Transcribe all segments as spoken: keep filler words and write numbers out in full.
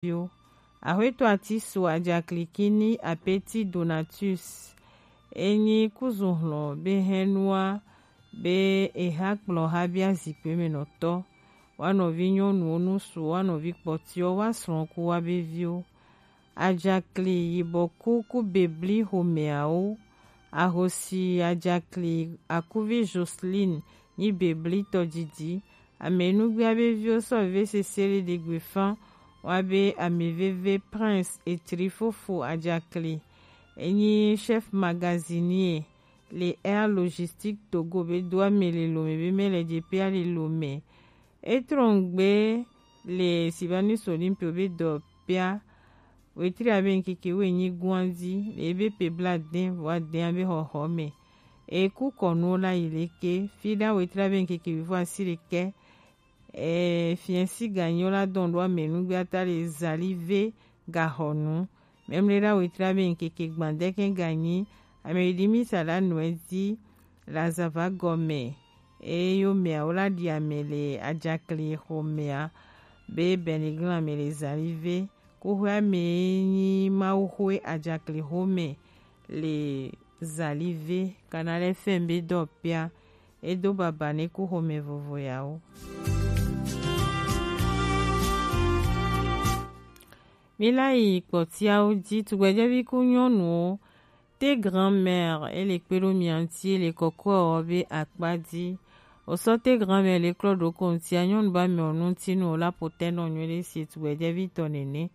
viwo. Axwetɔ Atisu Ajakli Kini Apeti Donatus, e nyi kuzu hlɔn be hɛnnua be e ha kplɔ ha be azikpe mɛ nɔtɔ, wa nɔvi nyɔnuwo nusu, wa nɔvi kpɔtiwo, wa slɔn ku wa be viwo. Ajakli yibɔ ku ku bebli xomɛawo. Ahosi Ajakli akuvi Joseline nyi bebli tɔdidi. Amɛnugbia be viwo sɔ ve sese le ɖegbe fan wa be amɛveve Prince Etri fofo Ajakli, e nyi chef magasinier le Air Logistique Togo be do amɛ le lome be mɛ le je pia le lome. E trɔngbe le Sylvanus Olympio be dɔ pia wetri abe ŋkeke wo enyi guanzi le ebe pe bladen vɔ aden abe xɔxɔ mɛ. E ku kɔnuwo la yi leke fi ɖa wetri abe ŋkeke wivɔ asi ɖekɛ. E fiɛsi ganyo la dɔn ɖo amɛnugbe ata le zali ve gaxɔnu. Mɛmlɛ ɖa wetri abe ŋkeke gbandɛkɛ ganyi amɛ yi ɖi mi sa ɖa nuɛ di la zava gɔmɛ. Eye yo mɛawo la ɖi amɛ le ajakli xomɛa be bɛniglan amɛ le zali ve. Kuxwea mɛ nyi Mawuxwe ajakli xomɛ le zali ve kana lɛ fɛn be dɔ pia. E do baba ne ku xomɛ vovo yawo. Mi la yi kpɔtiawo ji tugbɛjɛvi ku nyɔnuwo. Te grand-mère e le kpe ɖo mia ŋuti e le kɔkɔe ɔ be akpa ji. Osɔ te grand-mère le klɔ ɖo ko ŋutia nyɔnu ba mɛ ɔ nu ŋuti nu o la po tɛ nɔ nyuie ɖe si tugbɛjɛvi tɔ nene.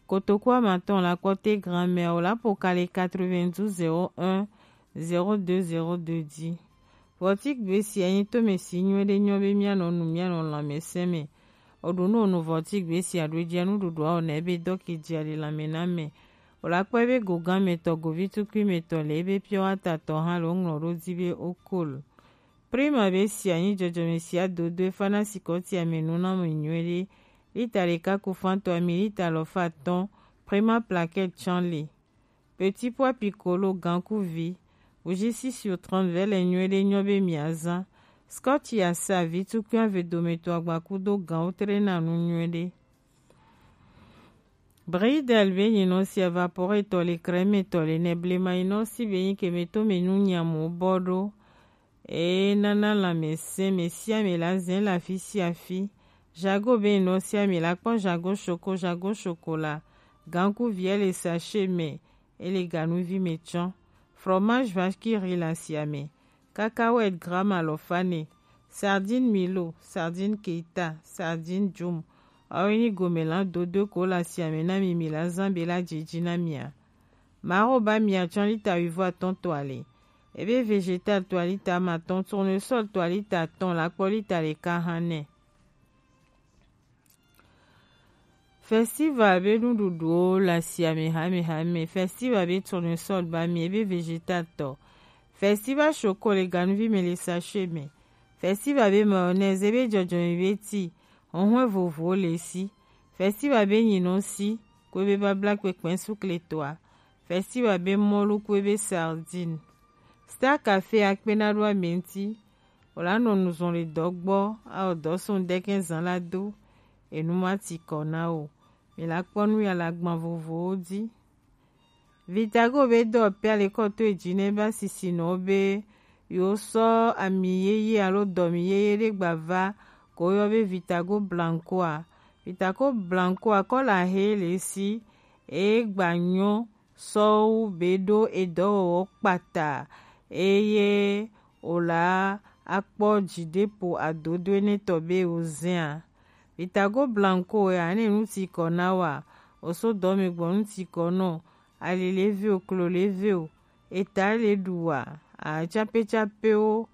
Kotoku amatɔn la kpɔ te grand-mère o la po ka le quatre-vingt-douze zéro un zéro deux zéro deux ji. Vɔtigbe sia nyi tome si nyuie ɖe nyɔ be mianɔ nu mianɔ lãmɛsɛn mɛ. Oɖu nu onu vɔtigbe sia ɖo jia nuɖuɖua o na ebe dɔki jia le lãmɛ na mɛ. O la kpɔ ebe gogan mɛ tɔ govi tukui mɛ tɔ le ebe piɔ ata tɔ hã le o ŋlɔ ɖo di be o kol. Prima be sia nyi jɔjɔmɛ sia dodo efa na sikɔ tia mɛ nu na mɛ nyuie ɖe. Lita ɖeka ku fantɔ ami lita lɔ fa tɔn. Prima plaquette tsan le. Petit pois piccolo gankuvi, bougie six sur trente vɛ le nyuie ɖe nyɔ be mia zan. Scotch ya sa vi tukui ave dometɔ agbaku do ganwo tre na nu nyuie ɖe. Bridel be nyinɔ si evapore tɔ le crème tɔ le nɛ blema nyinɔ si be nyi ke me to me nu nyamu bɔ ɖo. Eye nana lãmɛsɛn mɛ sia mɛ la zɛn le afi sia afi. Jago be nɔ sia mɛ la kpɔ jago shoko, jago shokola. Gankuviɛ le sachet mɛ, e le ganuvi mɛ tsɔ. Fromage vache qui rit la sia mɛ. Cacahuète gramme alɔfa nɛ. Sardine Milo, sardine Keita, sardine Jum. Awo nyi gomɛlan dodo ko la sia mɛ na mi mi la zan be la jiji na mia. Mawo ba mia tsɔ lita wivɔ atɔn to ali. Ebe végétal to alita amatɔn, tournesol to alita atɔn, lakpɔ lita ɖeka hã nɛ. Festival be nuɖuɖuwo le asiame hamehame. Festival be tournesol ba mi, ebe végétal tɔ. Festival choco le ganuvi me le sachet me. Festival be mayonnaise, ebe jɔjɔme be ti, huhwɛ vovowo le si. Festival be nyinɔ si, ko ebe babla kpekpe sukle toa. Festival be mɔlu ko ebe sardine. Star Café akpena ɖo ame ŋuti. Wòla nɔ nu zɔn le dɔ gbɔ, awɔ dɔ sɔn ɖekɛ zan la do. Enu ma ti kɔ na o. Mi la kpɔ nu ya le agban vovowo dzi. Vitago be dɔ pia le kɔ to edzi ne ba sisi nɔ be yo sɔ ami yeye alo dɔmi yeye ɖe gba va ko yɔ be Vitago Blanco a. Vitago Blanco a kɔ la he le si e gba nyɔ sɔwu be ɖo edɔwɔwɔ kpata eye wòla akpɔ dzideƒo adodo enetɔ be wòzẽa. Vitago Blanco ya ne nu ti kɔ na wa, wòso dɔme gbɔ nu ti kɔ nɔ, ali le ve o, klo le ve o, eta le ɖu wa, atsapetsapewo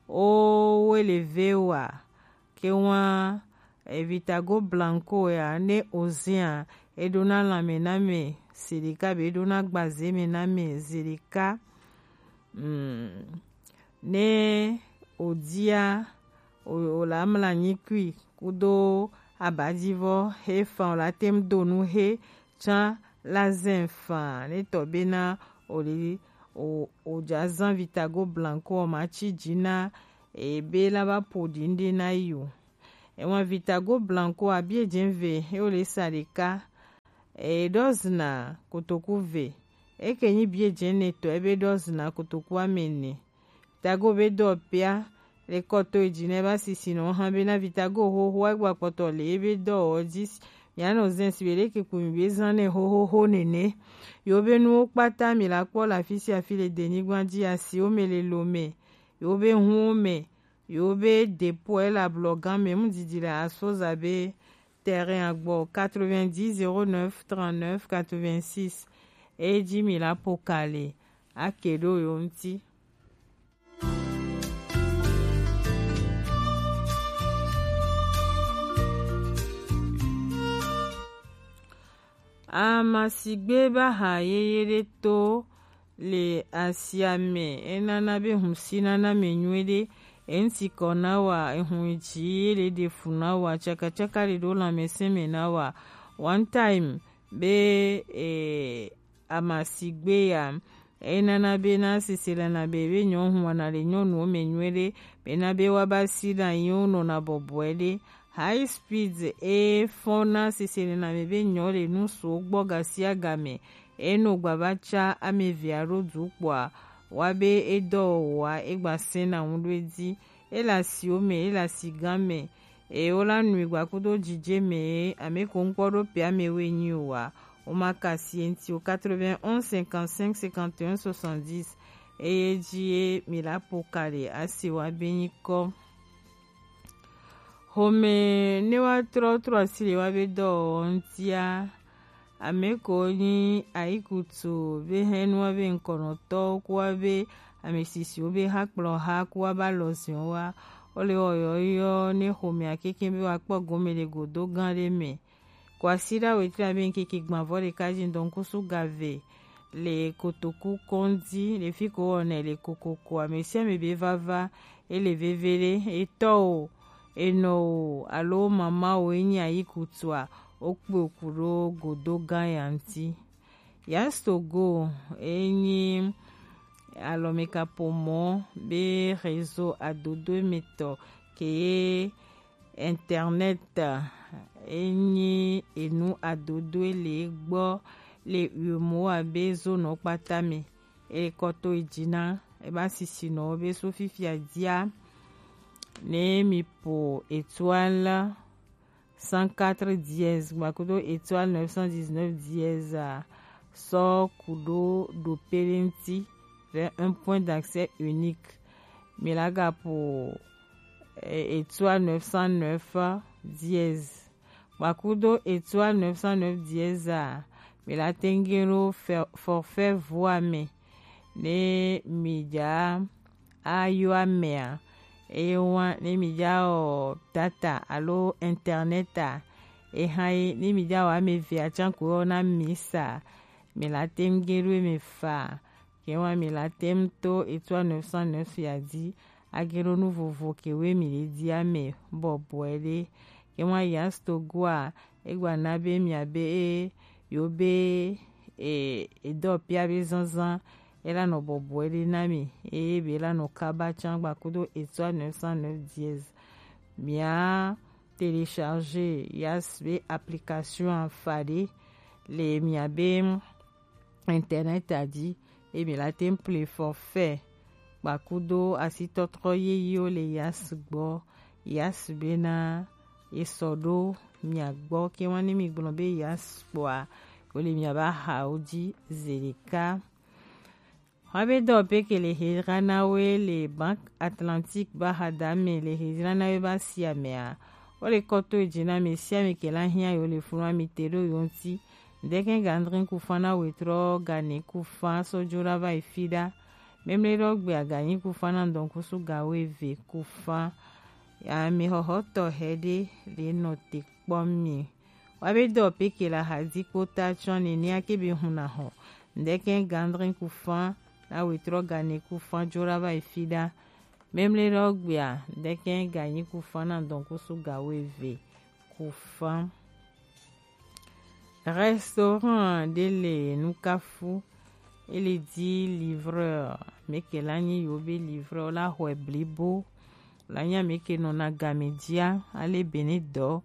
wowe le ve wa. Ke wan Vitago Blanco ya ne ozia, eɖona lãme na me zeɖeka be eɖona gbaze me na me zeɖeka. Mm. Ne odia, o, o la mla anyi kui kudo abadivɔ he fan, o la tem do nu he tsã la zɛn fan ne tɔ bena o li o, o ja zan Vitago Blanco o ma ci ji na ebe la ba po ɖi ŋɖe na yi o. Ewan Vitago Blanco abi eje ve he o le sa ɖeka. e ɖɔ zina kotoku ve. Eke nyi biɛ jɛnɛ tɔ ebe ɖɔ zina kotoku amɛnɛ. Tago be dɔ pia le kɔto eji ne ba sisi no han be na vitago hoho egba kpɔtɔ le ebe dɔ o ji. Mia no zen si be leke ku mi be zan ne hohoho nene. Yo be nuwo kpata mi la kpɔ la fisi afi le denyigba ji asi o me le lo me. Yo be hun o me. Yo be depo e la blɔ gan me mu didi la aso za be terrain agbɔ quatre-vingt-dix zéro neuf trente-neuf quatre-vingt-six. E ji mi la po kale. Ake ɖo yo ŋuti. Amasigbe ba ha yeye ɖe to le asia me, enana be hun si nana me nyuie ɖe, eŋuti kɔ na wa, ehun ji ye le ɖe fu na wa, tsakatsaka le ɖo lãmesẽ me na wa. One time be e, amasigbe ya, enana be na sese la na be be nyɔ hun wana le nyɔnuwo me nyuie ɖe, be na be wa ba si na yi wo nɔ na bɔbɔe ɖe. High speed e fɔn na sese le na me be nyɔ le nu so gbɔ gasia game. Eno gbava tsa ame vea ɖo du kpɔa, wa be edɔ wa egba sẽ na ŋu ɖo edzi. Ele asiwo me, ele asigã me. Eye wola nui gba kudo jije me, ame ko ŋkpɔ ɖo pe ame woe nyi o wa. Woma kasi enti o quatre-vingt-onze cinquante-cinq cinquante et un soixante-dix. Eye ji ye mi la po kale asi wa be nyi kɔ. Xɔme ne wa trɔ trɔ asi le wa be dɔ ŋutia. Ame ko nyi ayikutu be hɛnua be ŋkɔnɔtɔ kuwa be ame sisiwo be hakplɔ ha kuwa ba lɔ ziɔ wa. Wole wɔyɔyɔ ne xɔmea keke be wa kpɔ gome le godo gã ɖe me. Kwasiɖa wetri abe ŋkeke gbãvɔ ɖeka ji ŋdɔ ŋkusu gave le kotoku kɔndi le fi ko wɔnɛ le kokoko ame sia ame be vava ele veve ɖe etɔ o enɔ o alo mama o enyi ayi kutua wokpe oku ɖo godo gã ya ŋuti. Yastogo enyi alɔmekaƒomɔ be réseau adodo emetɔ ke ye internet enyi enu adodo ele gbɔ le uemowo abe zonɔ kpata me. Ekɔ to edzi na eba sisinɔwo be so fifia dia ne mi po étoile cent quatre dièse gbakudo étoile neuf cent dix-neuf dièse a sɔ kudo ɖo pe ɖe ŋuti vers un point d'accès unique. Mi la gapo eh, étoile neuf cent neuf dièse. Gbakudo étoile neuf cent neuf dièse a, mi la tenge ɖo fe- forfait voix me ne mi dza ayo amea. Eye wa ne mi dza wɔ data alo internet a, eha ye ne mi dza wɔ ame evea tsan ko yɔ na mi sa, mi la tenge ɖo eme fa. Ke wa mi la tem to étoile neuf cent neuf ya dzi age ɖo nu vovo ke we mi le dzi ame bɔbɔe ɖe. Ke wa Yastogo a egba na be mia be e yo be e edɔ pia be zanzan ela nɔ bɔbɔe ɖe na mi eye be ela nɔ kaba tsan gbakudo étoile neuf cent neuf dièse. Mia télécharger Yas be application afa ɖe le mia be internet a dzi ye mi la tem ple forfait gbakudo asitɔtrɔ yeyewo le Yas gbɔ. Yas bena esɔ ɖo mia gbɔ ke wa ne mi gblɔ be Yas kpɔa wole mia ba hawo dzi zeɖeka. Wa be dɔ pe ke le hejra na we le Banque Atlantique ba ha da me le hejra na we ba sia mea. Wole kɔ to edzi na ame sia ame ke la hiã yo le funu ami te ɖo yo ŋuti. Ŋdɛkɛ ga adre ku fa na wetrɔ ga ne ku fa sɔ dzo ɖa va yi fi ɖa. Memle ɖɔ gbe aga nyi ku fa na ŋdɔkusu ga wo eve ku fa. Ame xɔxɔtɔ hɛ ɖe le nɔ te kpɔ mi. Wa be dɔ pe ke la ha di kpota tsɔ nenia ke be hun na xɔ. Ŋdɛkɛ ga adre ku fa na wetrɔ ga ne ku fa dzo ɖa va yi fi ɖa. Memle ɖɔ gbea ŋdɛkɛ ga nyi ku fa na ŋdɔkusu ga wo eve ku fa. Restaurant ɖe le Nukafu, ele di livreur, meke la nyi yo be livreur la xɔe blibo, la nya meke nɔ na game dia, ale bene dɔ,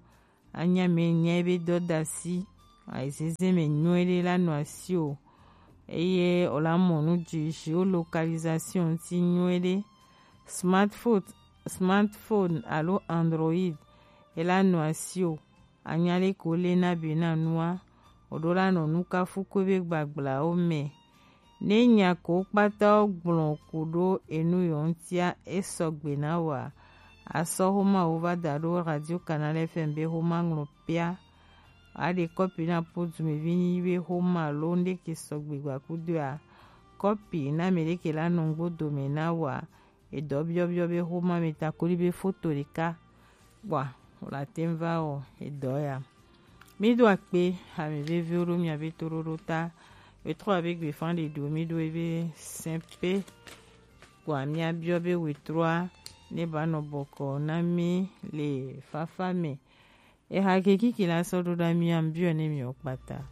anya me nya be dɔ dasi, Aizeze me nyuie ɖe la nɔ asi o. Eye o la mɔ nu dzi géolocalisation ti nyuie ɖe. Smartphone, smartphone alo Android e la nɔ asi o. Anya ɖe ko le na be na nua, o ɖo la nɔ nu kafu ko be gbagblao me. Ne nya ko kpata wo gblɔ ku ɖo enu yɔ ŋutia, e sɔgbe na wa. Asɔ xoma wo va da ɖo Radio Canal F M be xoma ŋlɔ pia. A ɖe kɔpi na po dumevi ni be xoma lo ŋɖe ke sɔgbe gba kudo a. Kɔpi na me ɖe ke la nɔ ŋgbo dome na wa. Edɔ biɔbiɔ be xoma me ta koli be foto ɖeka. Kpɔa, wòle ate ŋu va wɔ edɔ ya. Míɖo akpe ame veviwo ɖo mia be toɖoɖo ta. Wetrɔ abe gbefan ɖe ɖo míɖo ebe sɛpe. Kpɔa, míabiɔ be wetrɔa ne ba nɔ bɔkɔ na mí le fafa me. Eha ke kiki la sɔ ɖo ɖa mía biɔ ne mí kpata.